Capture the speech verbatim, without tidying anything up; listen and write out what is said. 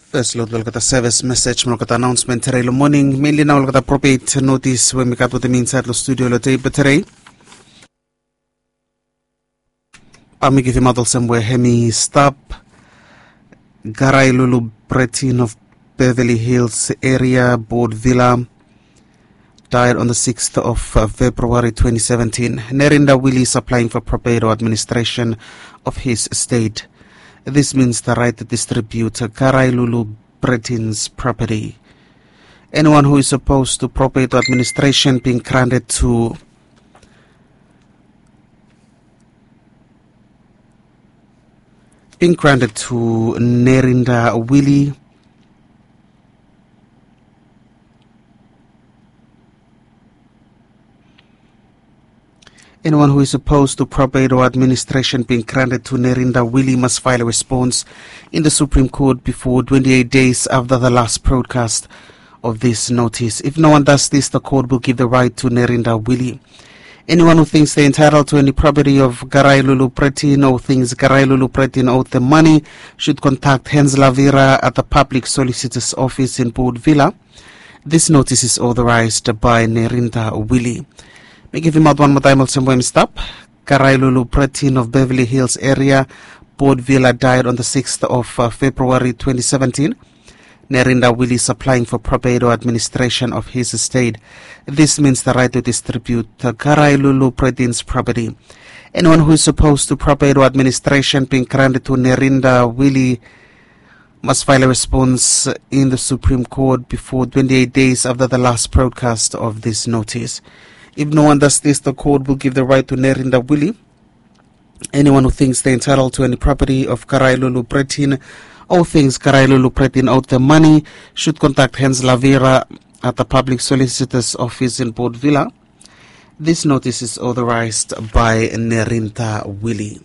Fes lo olgeta sevis mesej mo olgeta anaonsmen tedei lo moning, menli nao olgeta propet notis we mi gat wetem mi insaed lo studio lo dei blong tedei. Bae mi givimaot olsem we hem i stap. Garailulu Bretin of Beverly Hills eria, Port Vila, died on the sixth of February twenty seventeen. Nerinda Willie is applying for probate or administration of his estate. This means the right to distribute Garailulu Bretin's property. Anyone who is opposed to probate or administration being granted to being granted to Nerinda Willie. Anyone who is opposed to probate or administration being granted to Nerinda Willie must file a response in the Supreme Court before twenty-eight days after the last broadcast of this notice. If no one does this, the court will give the right to Nerinda Willie. Anyone who thinks they're entitled to any property of Garailulu Bretin or thinks Garailulu Bretin owed them money should contact Hans Lavira at the Public Solicitor's Office in Port Vila. This notice is authorized by Nerinda Willie. Mi givimaot wan moa taem olsem we hem i stap. Garailulu Bretin of Beverly Hills eria, Port Vila, died on the sixth of February twenty seventeen. Nerinda Willie is applying for probate or administration of his estate. This means the right to distribute Garailulu Bretin's property. Anyone who is opposed to probate or administration being granted to Nerinda Willie must file a response in the Supreme Court before twenty-eight days after the last broadcast of this notice. If no one does this, the court will give the right to Nerinda Willie. Anyone who thinks they're entitled to any property of Garailulu Bretin or thinks Garailulu Bretin owed them money should contact Hans Lavira at the Public Solicitor's Office in Port Vila. This notice is authorized by Nerinda Willie.